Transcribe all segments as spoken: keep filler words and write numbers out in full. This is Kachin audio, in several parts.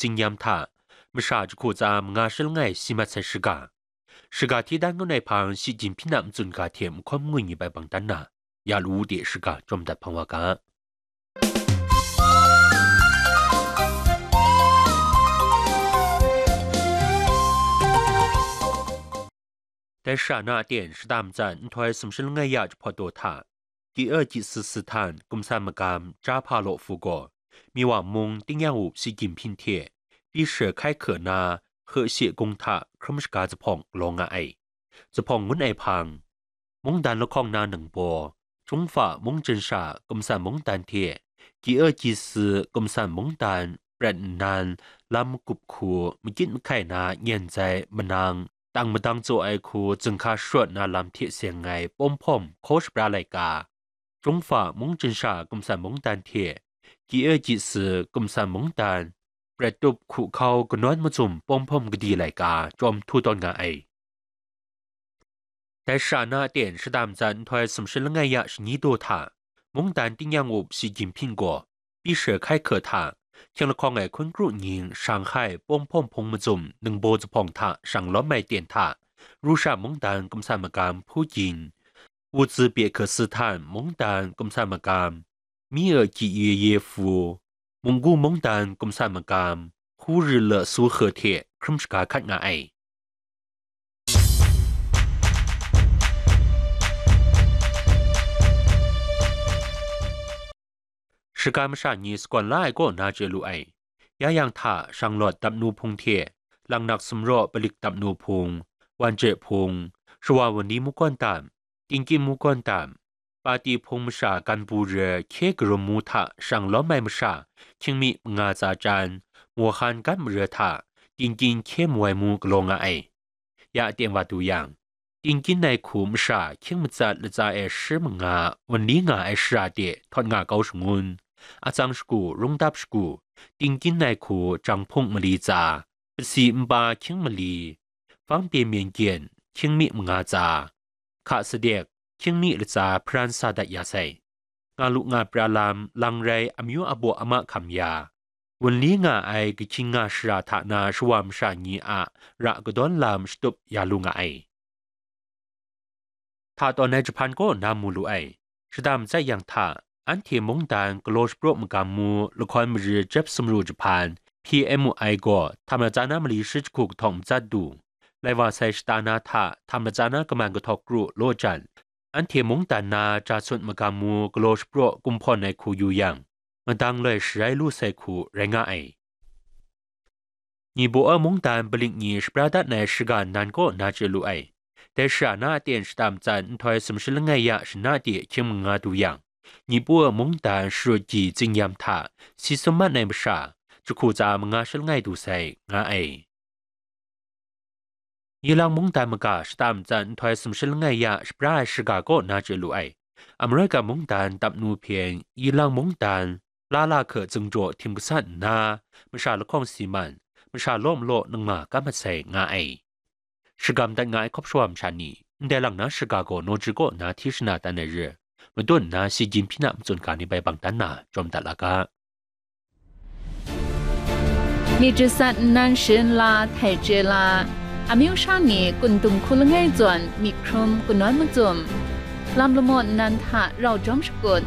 Tsingyam hta, masha jahku tsa manga shi langai si mat sai shiga. Shiga hti dan ngut ai hpang Shi Jinhping a matsun ga hte mahkawn ngwi ngwi bai bang dan na, ya lu u de shiga jawm dat hpang wa ga. Dai shara na aten shada matsat nhtoi sumshi langai ya jahpawt daw hta, G E G S S htan kumsan magam Jahpa Law Fu gaw, Miwa mung tingnyang up Shi Jinhping hte pyi shi hkai hku na, Hkeshe Gung hta hkrum shaga zuphpawng galaw nga ai. Zuphpawng ngun ai hpang, mungdan lahkawng na ningbaw, Chungfa mungchin sha kumsan mungdan hte G E G S kumsan mungdan prat nnan, lam magup hku makyit mahkai na nyen zai manang, tang madang tsaw ai hku zinghka sharawt na lam hte seng ai pawm hpawm hkaw shapra laika, Chungfa mungchin sha kumsan mungdan hte G E G S kumsan mungdan prat tup hku hkau kanawn mazum pawm hpawm gadi laika chyawm htu tawn nga ai. Dai shara na aten shada matsat nhtoi sumshi langai ya shani daw hta, mungdan tingnyang up Shi Jinhping gaw, pyi shi hkai hku hta, hkying lahkawng ai hkun kru nying Shanghai pawm hpawm hpung mazum ningbaw zuphpawng hta shang lawm ai ten hta, Rusha mungdan kumsan magam Pu Jin, Wu Zi Bie Hke Si Htan mungdan kumsan magam, Mi E Ji Ye Ye Fu, Munggu mungdan kumsan magam, Hu Ri Le Su He hte hkrum shaga hkat nga ai. Shaga masha ni sagawn la ai kaw na chye lu ai. Ya yang hta Shanglawt dap nu hpung hte, Langnak Sumraw Palik dap nu hpung, Wan Jai hpung, Shawa Wunli Mukawndam, Tingkin Mukawndam, Pati hpung masha Ganpu re hkye karum mu hta shang lawm ai masha, hkying mi manga tsa Chan, Mohan Gat mare hta, Tingkin hkye mu ai mu galaw nga ai. Ya aten wa du yang, Tingkin ai hku masha hkying matsat latsa e shi manga wunli nga ai shara de htawt nga kau shangun, Atsang shagu, Rungdap shagu, Tingkin ai hku Jang Hpung mali tsa, Pasi npa hkying mali, Fangpye Myen Gyen hkying mi manga tsa, Hka Sadek hkying mi latsa hparan sa dat ya sai. Nga lu nga pra lam, lang rai amyu abaw ama hkam ya, wunli nga ai kahkying nga shara hta na shawa masha ni a ra kadawn lam shatup ya lu nga ai. Hta tawn ai jahpan kaw na mu lu ai. Shada matsat yang hta, anhte mungdan galaw shapraw magam mu lahkawn mari jep sumru jahpan, P M U I gaw htam latsa na mali shi jahku kahtawng matsat du. Lai wa sai shata na hta htam latsa na kaman kahtawk kru law jan, anhte mungdan na ja sun magam mu galaw shapraw kumhpawn ai hku yu yang, madang loi sharai lu sai hku rai nga ai. Nibaw a mungdan palik ni shapra dat ai shaga nnan kaw na chye lu ai. Dai shara na aten shata matsat nhtoi sumshi langai ya shana de hkying manga du yang, Nibaw a mungdan sharut ji Tsingyam hta si sum mat ai masha, jahku tsa manga shi langai du sai, nga ai. Yilang mungdan maga shata matsat nhtoi sumshi langai ya shapra ai shaga kaw na chye lu ai. Amerika mungdan dap nu hpe Yilang mungdan Lala Hke Tsingjaw htim gasat nna, masha lahkawng si man, masha law malaw nangma kam mat sai, nga ai. Shagam dat nga ai hkawp shawa masha ni, ndai lang na shaga gaw naw chyu kaw na hti shana tan ai re, madun nna Shi Jinhping a matsun ga ni bai bang dan na, jawm dat la ga. Myit jasat nnan sharin la htai chye la, amyu sha ni kun dung hku langai zawn myit hkrum kanawn mazum, lam lamaw nnan hta rau jawm shakut,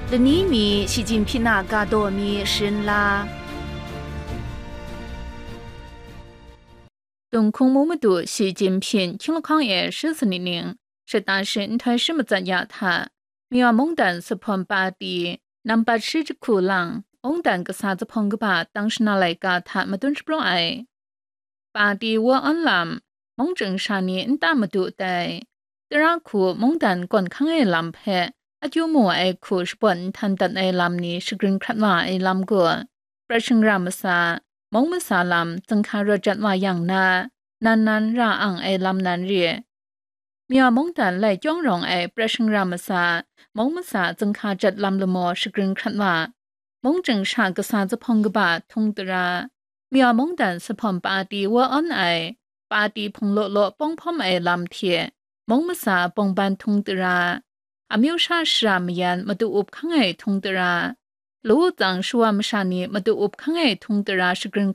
lani mi Shi Jinhping a ga daw mi sharin la. Tunghkung mu madu Shi Jinhping hkying lahkawng e shi sanit ning, shata shi nhtoi shi matsat ya hta, Miwa mungdan Suphum Pati nampat shi jahku lang, mungdan kasa zuphpawng kaba tang shana laika hta madun shapraw ai. Pati wa awn lam, mungchying sha ni nta madu tai, tara hku mungdan kawn hkang ai lam hpe akyu mu ai hku shabawn nhtan dat ai lam ni shagrin hkrat wa ai lam gaw, prat shingra masa, mung masa lam zinghka rawt jat wa yang na, nan nan ra ang ai lam nan re. Miwa mungdan lai kyawng rawng ai prat shingra masa, mung masa zinghka jat lam lamaw shagrin hkrat wa, mungchying sha kasa zuphpawng kaba htung tara, Miwa mungdan Suphum Pati wa awn ai, Pati hpung law law pawng hpawm ai lam hte, mung masa bawngban htung tara, amyu sha shara mayan madu up hkang ai htung tara, Law tsang shawa masha ni matu up hkang e htung tara shagrin